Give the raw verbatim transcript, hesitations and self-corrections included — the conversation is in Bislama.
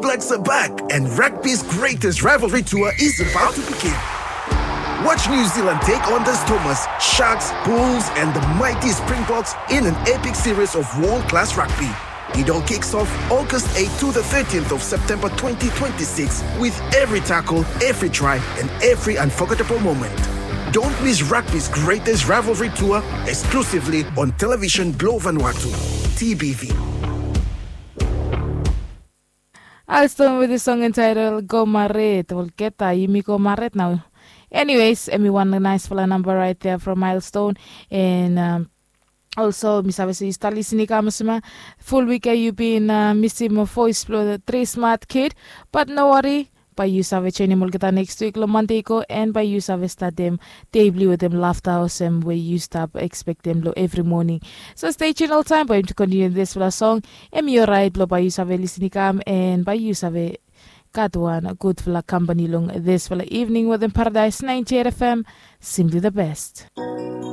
Blacks are back, and rugby's greatest rivalry tour is about to begin. Watch New Zealand take on the Stormers, Sharks, Bulls, and the mighty Springboks in an epic series of world-class rugby. It all kicks off August eighth to the thirteenth of September twenty twenty-six, with every tackle, every try, and every unforgettable moment. Don't miss rugby's greatest rivalry tour, exclusively on Television Blue Vanuatu, T B V. Milestone with the song entitled Go Maret. Olgeta, yumi go maret nao. Anyways, hemi wan naisfala namba right there from Milestone. And um, also, mi save se yu stap lisin i kam olsem ia. Ful wik ia yu bin uh, misim voice blong tri smart kid. But no worry, bae yu save joinim olgeta next week long Monday go, and bae yu save statem dei blong yu wetem lafta olsem we yu stap ekspektem long evri moning. So stay tuned oltaem bae yumi kontiniu dispela song. Hemi orait blong bae yu save lisin i kam, and bae yu save gat wan gudfala kampani long dispela evening wetem Paradise ninety-eight F M. Simply the best.